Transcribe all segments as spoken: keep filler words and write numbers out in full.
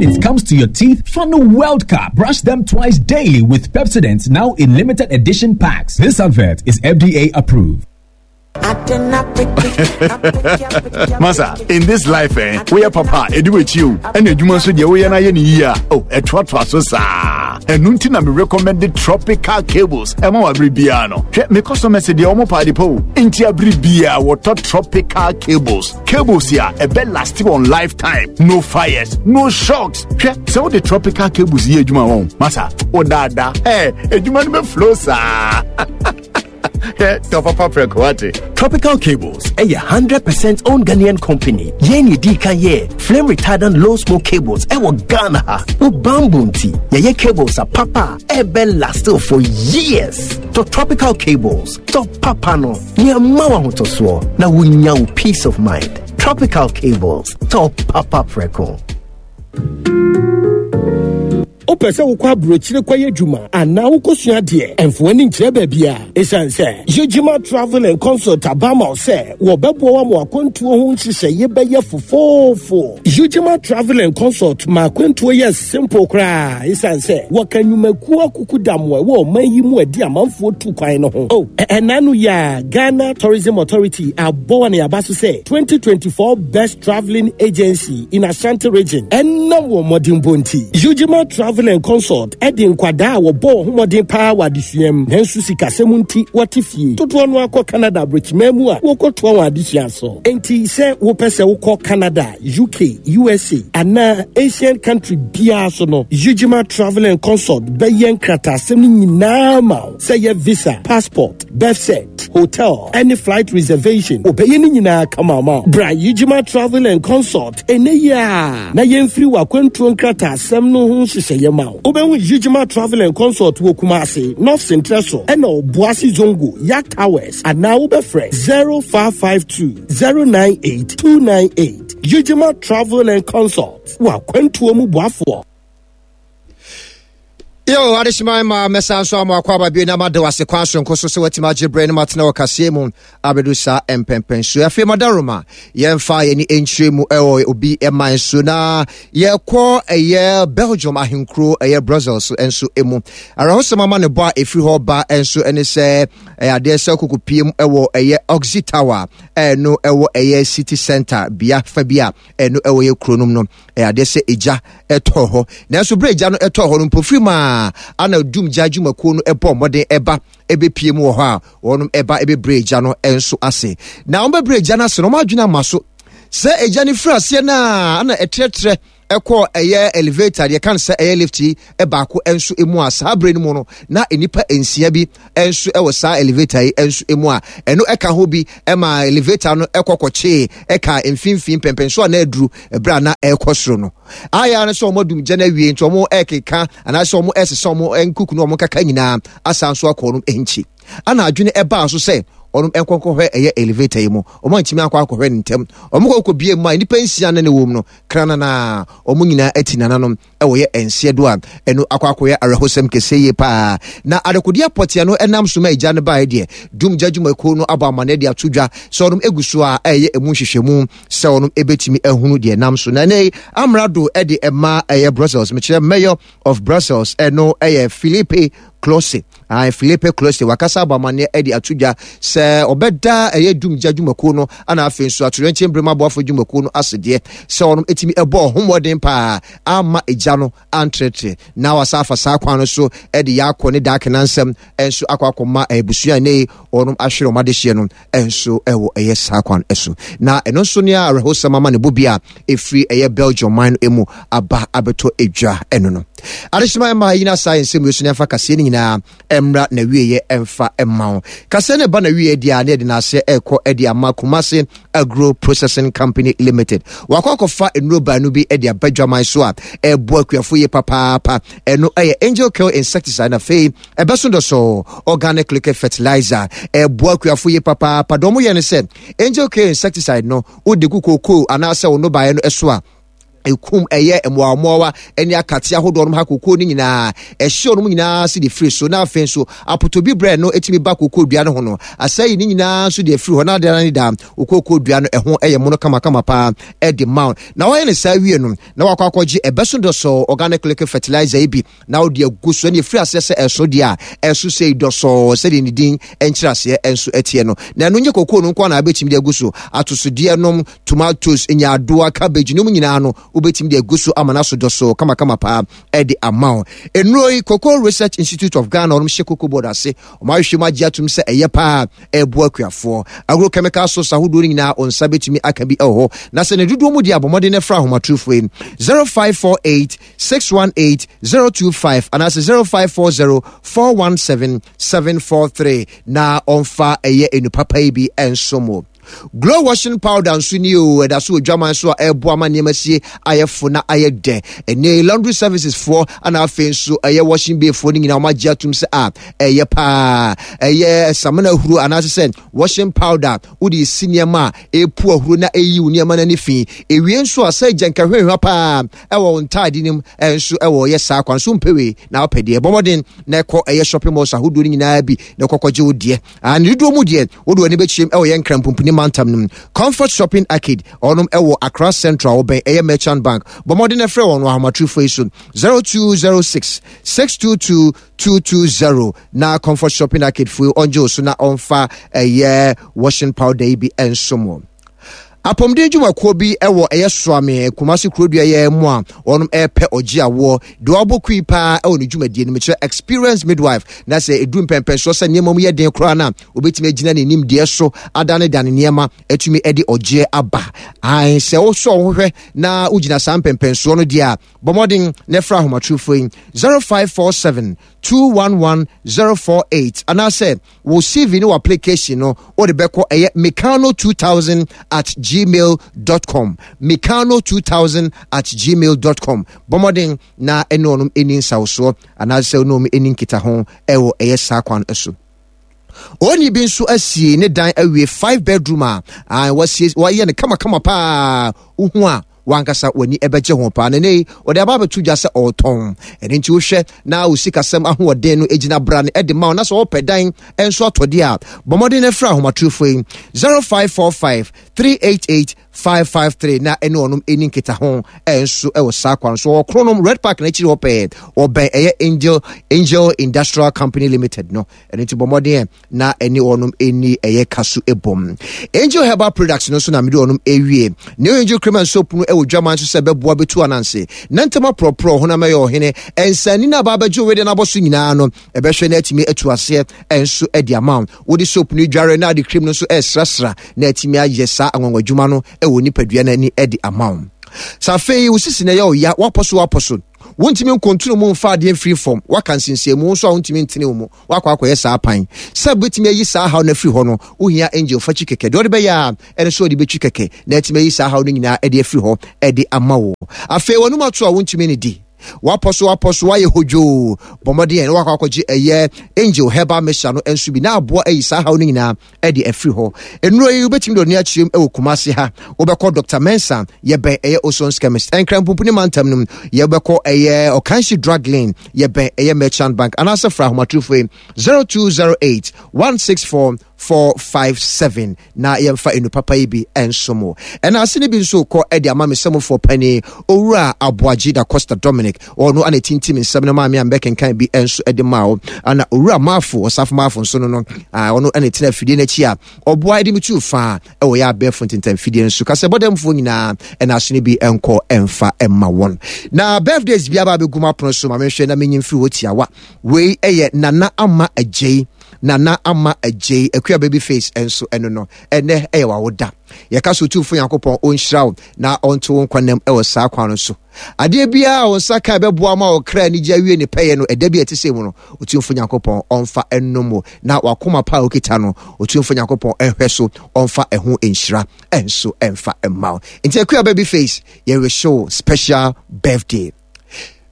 When it comes to your teeth, Fanu World Cup. Brush them twice daily with Pepsodent now in limited edition packs. This advert is F D A approved. Masa, in this life, eh, we are papa, edu you, and you must be we are year. Oh, a trot so sa. And nuntina me recommended tropical cables. Emo abribiano. Me customer said the omo party po. Inti abribia water tropical cables. Cables here, a bed lasting on lifetime. No fires, no shocks. So the tropical cables here, Juma home. Masa, oh dada, eh, a Juma flow sa. Tropical Cables, a hundred percent owned Ghanaian company. Yeni D K ye flame retardant low smoke cables. Ewo Ghana, o bamboo tea. Ye cables are papa. Ebe last for years. To Tropical Cables, to papa no. Ni amawa hotoswo na wunya peace of mind. Tropical Cables, to papa preko. Opesa wukwa brochire kwa yejuma ana wukosua de emfo ani nkire ba bia esanse Yejima Travel and Consult abama ose wo beboa wa mo akwantuo ho nhihye ye beye fofofo. Yejima Travel and Consult ma akwantuo ye simple kra esanse wo kanwumaku akukudam wo man yi mu adi amanfo tu kwan no ho. Oh, enanu ya Ghana Tourism Authority aboa na yabaso se twenty twenty-four Best Traveling Agency in Ashanti Region enna wo modimbo nti Yejima Travel and Consult edi nkwada wo bo homodin pa wa adisuam nanso sikasem nti wote fie toto no akọ Canada brochimamu a wokotoa wa adisua so enti se wo pese wokọ Canada, U K, U S A ana Asian country bia so no Yejima Travel and Consult be nkratasem nyinaa ma se ye visa, passport, birth cert, hotel, any flight reservation obeye ni nyinaa kama ma bra Yejima Travel and Consult ene ya na yemfiri wakwantuo nkratasem no ho hyehyɛ yema obenwu Yejima Travel and Consult wo Kumasi, North Central so ena Obuasi Zongo Yak Towers and now obefre zero five five two zero nine eight two nine eight. Yejima Travel and Consult wakwantuo mu boafo. Yo, adishima ma mesa nso am akwa ba bi na made wase kwan so nkoso se watima gyebre ne matena wakase mu abedu sa empempenso afi madaroma yemfa ye ni entire mu ewo obi eman so na yekɔ eye Belgium ahenkro eye Brussels enso emu arahosema ma ne bo a efiri hɔ ba enso ene se ade se kokopiem ewo eye Oxy Tower eno ewo eye city center bia fa bia eno ewo ye kronum no ade se eja eto hɔ nanso bre eja no eto hɔ no mpofiri ma ana dum gya dwumakuo no ebo modern eba ebepie mu wɔ hɔ a wɔnom eba ebebre gya no enso ase na wɔn bebre gya no ase no wɔn adwene ama so sɛ egya ne firi aseɛ na ana ɛtrɛtrɛ ɛkɔ ɛyɛ elevator deɛ kan sɛ ɛyɛ lift yi ɛbaako enso emu a saa bere no mu no na enipa nsia bi enso ɛwɔ saa elevator yi enso emu a ɛno ɛka ho bi ɛma elevator no ɛkɔ kɔkyee ɛka mfimfin pɛmpɛnso a na aduru ɛbrɛ a na ɛkɔ soro no aya no sɛ ɔmo dum gya no awie nti ɔmo ɛkeka anaasɛ ɔmo ɛsesa ɔmo nkuku no ɔmo kaka nyinaa asan so akɔ ɔno nkyi ana adwene ɛbaa so sɛ ɔno nkɔnkɔhwɛ ɛyɛ elevator yi mu ɔmo antimi akɔ akɔhwɛ ne ntɛm ɔmo kɔkɔ bie mu a nnipa nsia ne ne wɔ mu no kra na ɔmo nyinaa ati nananom ɛwɔ yɛ nsia do a ɛno akɔ akɔyɛ awerɛhosɛm kɛseɛ yie paa na adekodeɛ pɔtea no ɛnam so ma agya no baeɛ deɛ dum gya dwumakuo no abɔ amanneɛ de ato dwa sɛ ɔnom egu so a ɛyɛ emu nhwehwɛmu sɛ ɔnom ebɛtumi ahunu deɛ nam so na ɛnɛ amrado ɛde ɛma ɛyɛ Brussels mekyerɛ mayor of Brussels ɛno ɛyɛ Philippe Close. Ah, Philippe Close wakasa abɔ amanneɛ ɛde ato dwa sɛ ɔbɛda ɛyɛ dum gya dwumakuo no ana afei nso atoyerɛnkyɛm brema aboafo dwumakuo no asedeɛ sɛ ɔnom etimi ɛbɔ ɔhomɔden paa ama egya no antrɛtrɛ na wasa afa saa kwan no so ɛde yɛ akɔ ne daake nansɛm ɛnso akɔ akɔma abusua ne ɔnom ahwere ɔmo adehyeɛ no ɛnso ɛwɔ ɛyɛ saa kwan ɛso na ɛno nso ne awerɛhosɛm ama ne bo bi a ɛfiri ɛyɛ Belgium man no emu aba abɛtɔ edwa ɛno no adehyema ɛma yi na saa nsɛm yi so ne afa kaseɛ no nyinaa ɛmra na wieɛ ɛmfa ɛma wo kaseɛ no ɛba na wieɛ deɛ a ne yɛde n'aseɛ ɛrekɔ ɛde ama Kumasi Agro Processing Company Limited wakɔ akɔfa nnuro baanu bi ɛde aba dwaman so a ɛboa akuafo yie papaapa ɛno ɛyɛ Angel Kill Insecticide na afei ɛbɛso dɔsɔ organic liquid fertilizer ɛboa akuafo yie papaapa dɔm yɛ no sɛ Angel Kill Insecticide no wode gu kookoo anaasɛ wo nnɔbaeɛ no ɛso a Ekum ɛyɛ mmoawammoawa ne akate ahodoɔ nom ha kokoo no nyinaa, ɛhyew nom nyinaa se de firi so. Na afei nso apotobi brɛ no etumi ba kokoo dua no ho no, asɛe ne nyinaa nso de afiri hɔ. Na adeɛ ne da okoko dua no ɛho ɛyɛ mono kamakama paa ɛde ma. Na wɔyɛ ne saa wie no, na wakɔ akɔgye ɛbɛso dɔsɔ organic liquid fertilizer yi bi na wode agu so. Ɛne ɛfiri aseɛ sɛ ɛso deɛ a ɛso sɛ dɔsɔɔ sɛdeɛ ne din ɛnkyerɛ aseɛ ɛnso ɛteɛ no. Na ɛno nyɛ kokoo no nko na abɛtumi de agu so. Atosodeɛ nom, tomatoes, nyaadoa, cabbage nom nyinaa no, wobɛtumi de agu so ama no aso dɔsɔɔ kamakama paa ɛde ama wo. Nnuro yi, Cocoa Research Institute of Ghana, ɔnom hyɛ Cocoa Board ase, ɔmo ahwehwɛ mu agye atom sɛ ɛyɛ paa, ɛboa akuafoɔ. Agrochemical source ahodoɔ no nyinaa, ɔnsa bɛtumi aka bi ɛwɔ hɔ. Na sɛ ne dodoɔ mu deɛ, abɔmmɔden no fra ahomatrofoɔ yi zero five four eight six one eight zero two five anaasɛ zero five four zero four one seven seven four three na ɔmfa ɛyɛ enu papa yi bi ɛnso mo. Glow washing powder nso ni o, ɛda so wɔ dwaman so a ɛboa ma nneɛma sie ayɛ fo na ayɛ dɛ. Ɛnɛ laundry services foɔ ana afei nso ɛyɛ washing bay foɔ no nyinaa, wɔn agye atum sɛ a ɛyɛ paa. Ɛyɛ samina ahuro anaasɛ sɛ washing powder wode si nneɛma a ɛpu ahuro na ɛyi wo nneɛma no ani fi. Ewie nso a sɛ gya nkahwehwɛ paa ɛwɔ wo ntaade no mu ɛnso ɛwɔ yɛ saa kwan so mpɛwee na wopɛ deɛ, bɔ mmɔden na ɛkɔ ɛyɛ shopping malls ahodoɔ no nyinaa bi na ɛkɔkɔgye wo deɛ. Ne dodoɔ mu deɛ, wode w'ani bɛkyerɛm ɛwɔ yɛn Nkran Pumpuni mantam no mu, Comfort Shopping Arcade, ɔnom ɛwɔ Accra Central, wɔbɛn ɛyɛ Merchant Bank. Bɔ mmɔden na ɛfrɛ wɔn wɔ ahomatrofoɔ yi so zero two zero six six two two two two zero na Comfort Shopping Arcade foɔ ɔngye wo so na ɔmfa ɛyɛ washing powder yi bi ɛnso mo. Apɔmuden dwumakuo bi wɔ ɛyɛ Soame Kumase kurodua yɛ mu a wɔn ɛrepɛ ɔgye awoɔ deɛ wabɔ kui paa ɛwɔ ne dwumadie no mu kyerɛ experience midwife, na sɛ edu mpɛmpɛnsoɔ sɛ nneɛma mu yɛ den koraa na obetumi agyina ne nimdeɛ so adanedane nneɛma atumi de ɔgyeɛ aba. Ae, sɛ wosɔ wo ho hwɛ na wogyina saa mpɛmpɛnsoɔ no deɛ a, bɔ mmɔden na ɛfra ahomatrofoɔ yi zero five four seven two one one zero four eight anaasɛ wo C V ne wo application no wode bɛkɔ ɛyɛ mekano two thousand at gmail dot com, mekano two thousand at gmail dot com. Bɔ mmɔden na ɛne ɔnom ɛni nsawosoɔ anaasɛ ɔne ɔnom ɛni nkitaho ɛwɔ ɛyɛ saa kwan so. Oni bi nso asie ne dan awie, five bedroom a wasie wayɛ no kamakama paa, wohu a wankasa w'ani ɛbɛgye ho paa. Nene ɔde aba abɛto dwa sɛ ɔretɔn. Ɛno nti wohwɛ na wo sikasɛm ahoɔden no gyina bra no ɛde ma wo, na sɛ wɔpɛ dan nso atɔdeɛ a, bɔ mmɔden no frɛ ahomatorofo yi zero five four five three eight eight five five three na ɛne ɔnom ɛni nkita ho ɛnso ɛwɔ saa kwan so. Wɔ Kronom Red Park n'akyiri hɔ pɛɛ, ɔbɛn ɛyɛ Angel Angel Industrial Company Limited no. Ɛno nti bɔ mmɔden na ɛne ɔnom ɛni ɛyɛ kaso ɛbom. Angel Herbal Products no nso na mede ɔnom ɛwie. New Angel Cream and Soap no ɛwɔ dwaman so sɛ ɛbɛboa bɛtu ananse na ntɛm aporɔporɔ honam ɛyɛ ɔhene ɛnsani no aba abɛgye wede no abɔ so nyinaa no, ɛbɛhwɛ na atumi atu aseɛ ɛnso ɛde ama wo. Wode soap no dware na ade cream no nso ɛsrasra na atumi ayɛ saa anwanwadwuma no ɛwɔ nipadua no ani ɛde ama wo. Sɛ afei wo sisi na ɛyɛ ɔya, wapɔ so wapɔ so, wontumi nkontunu mu mfa adeɛ mfiri fam, waka nsinsiamu nso a wontumi ntene wo mu, wakɔ akɔyɛ saa pan sɛ wobɛtumi ayi saa haw no afiri hɔ no, wohia Angel fakyi kɛkɛ. Deɛ ɔde bɛyɛ a ɛno so ɔde bɛtwi kɛkɛ na atumi ayi saa haw no nyinaa ɛde afiri hɔ ɛde ama wo. Afei wɔnum ato a wontumi ne di, wapɔ so wapɔ so, wayɛ hodwoo, bɔ mmɔden na wakɔ akɔgye ɛyɛ Angel Herbal Mixture no nso bi na aboa ayi saa haw no nyinaa ɛde afiri hɔ. Nnuro yi wobɛtumi de ɔne akyerɛm ɛwɔ Kumase ha, wobɛkɔ Doctor Mensa, yɛbɛn ɛyɛ Osons Chemist. Ɛnkra Mpumpuni mantam no, yɛbɛkɔ ɛyɛ Ɔkanhyi Drug Lane, yɛbɛn ɛyɛ Merchant Bank, anaasɛ fra ahomatorofo yi zero two zero eight one six four four five seven na yɛmfa enu papa yi bi nso mo. Ɛna ase no bi nso kɔ ɛde ama me sɛmofoɔ pani Owura Aboagye da Costa Dominic, ɔno ana tintim nsɛm no maame a mbɛkenkan bi nso ɛde ma wo. Ana Owura Maafo Ɔsafo Maafo nso no no ɔno ɛna tena afidie n'akyi a ɔboa ɛde me tu faa ɛwɔ yɛ abɛɛfo ntentam fidie nso kasɛ bɔdɛmfoɔ nyinaa. Ɛna ase no bi nkɔ ɛmfa ɛma wɔn. Na birthdays bi aba abɛgu mu apono so ma menhwɛ na menyim firi hɔ tiawa. Wei ɛyɛ Nana Ama Agyei, Nana Ama Agyei Akua Baby Face nso ɛno no, ɛnɛ ɛyɛ wawoda. Yɛka so Otumfo Nyankopɔn ɔnhyira wo na ɔnto wo nkwanam ɛwɔ saa kwan no so. Adeɛ biara a wo nsa ka ɛbɛboa ma ɔkra anigye awie ne pɛyɛ no, ɛda bi a ɛte sɛ mu no, Otumfo Nyankopɔn ɔmfa ɛnom wo, na wakoma pa a okita no, Otumfo Nyankopɔn ɛnhwɛ so ɔmfa ɛho nhyira ɛnso ɛmfa ɛmma wo. Nti Akua Baby Face, yɛrehyɛ wo special birthday.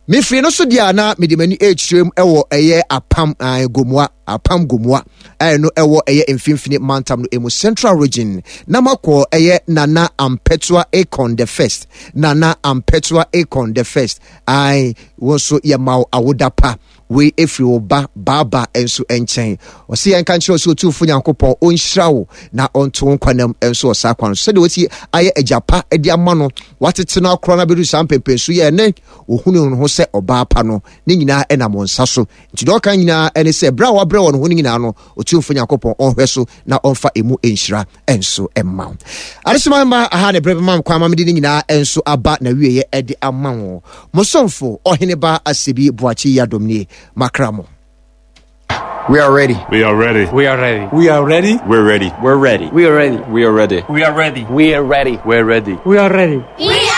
Mefiri no so deɛ a na mede m'ani ɛrekyerɛ mu ɛwɔ ɛyɛ Apam Gomoa, Apam Gomoa ɛno ɛwɔ ɛyɛ Mfimfini Mantam no emu, Central Region, na makɔ ɛyɛ Nana Ampɛtoa Akon the First, Nana Ampɛtoa Akon the First. Ae, wo nso yɛma wo awoda pa. Wei ɛfiri wo ba Baaba nso nkyɛn. Ɔse yɛnka nkyerɛ sɛ Otumfo Nyankopɔn ɔnhyira wo na ɔnto wo nkwanam nso wɔ saa kwan so, sɛdeɛ wɔsi ayɛ agya pa de ama no, watete no akorɔ no abɛdu saa mpɛmpɛnso yɛ ɛnɛ wɔhunu ne ho sɛ ɔbaa pa no, ne nyinaa ɛnam wɔn nsa so. Nti deɛ ɔka nyinaa ɛne sɛ berɛ a wabrɛ wɔn ho no nyinaa no, Otumfo Nyankopɔn ɔnhwɛ so na ɔmfa emu nhyira nso mma wo. Adesoma mma aha ne berɛ bɛma kwan ma mede ne nyinaa nso aba na wieɛ ɛde ama wo. Mo somfo Ɔheneba Asebi Boakye Yiadom nie, makra mo. We are ready. We are ready. We are ready. We are ready. We're ready. We're ready. We are ready. We are ready. We are ready. We are ready. We're ready. We are ready. We